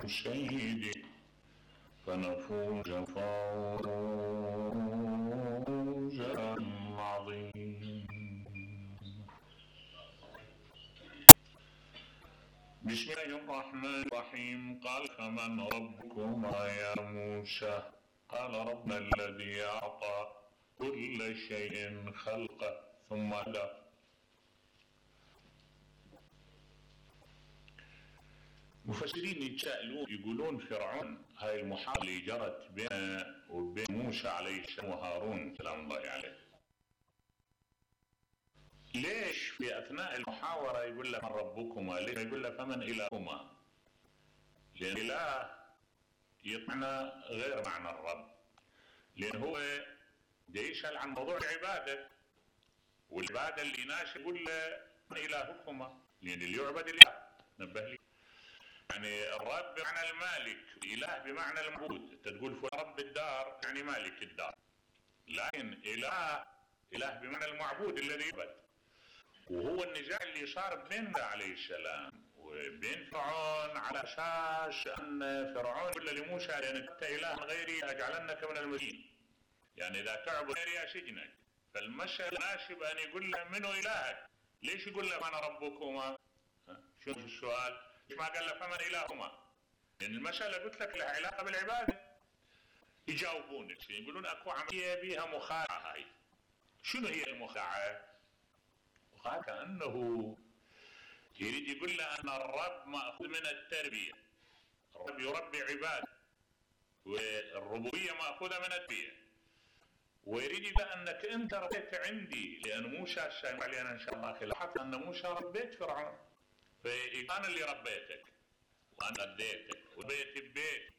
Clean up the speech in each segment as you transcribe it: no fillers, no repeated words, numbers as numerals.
سيدي فنفوز فوزا عظيما. بسم الله الرحمن الرحيم. قال فمن ربكما يا موسى؟ قال ربنا الذي أعطى كل شيء خلقه ثم هدى. مفسرين يتساءلون يقولون فرعون هاي المحاورة اللي جرت بينه وبين موسى عليه السلام وهارون سلام الله عليه، ليش في أثناء المحاورة يقول له من ربكما؟ ليش يقول له فمن إلهكما؟ لأن إله يطمع غير معنى الرب، لأن هو يسأل عن موضوع العبادة، والعبادة اللي ناس يقول له من إلهكما، لأن اللي يعبد إله نبه لي. يعني الرب بمعنى المالك، إله بمعنى المعبود. أنت تقول فلان رب الدار يعني مالك الدار، لكن إله بمعنى المعبود الذي يعبد. وهو النزاع اللي صار بين موسى عليه السلام وبين فرعون على أساس أن فرعون يقول لموسى لأن أنت إله غيري أجعلنك من المسجونين، يعني إذا تعبد غيري أسجنك. فالمسألة ناسب أن يقول له منو إلهك؟ ليش يقول له أنا ربكما؟ شوف السؤال، ليش ما قال له فمن إلهكما؟ لأن المسألة قلت لك لها علاقة بالعبادة. يجاوبونك يقولون أكو عملية بها مخادعة. هاي شنو هي المخادعة؟ كأنه يريد يقول له أن الرب مأخوذ من التربية، الرب يربي عباده، والربوبية مأخوذة من التربية، ويريد يقول أنك أنت ربيت عندي، لأن موسى سيما علينا إن شاء الله خلاحة أن موسى ربيت فرعون، فأنا اللي ربيتك وأنا رديتك وربيت ببيت.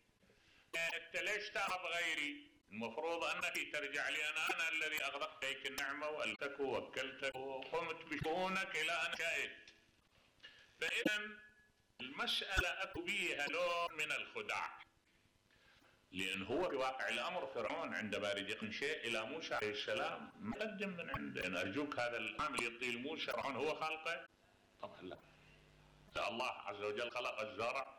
أنت ليش تعرف غيري؟ المفروض أنك ترجع لي أنا الذي أغدقت عليك النعمة وألتك ووكلتك وقمت بشؤونك إلى أن شئت. فإذا المسألة أكو بيها نوع من الخداع، لأن هو في واقع الأمر فرعون عندما يريد يقدم شيء إلى موسى عليه السلام ما قدم من عنده. أن أرجوك هذا العامل يطيل موسى فرعون هو خالقه؟ طبعا لا. الله عز وجل خلق الزرع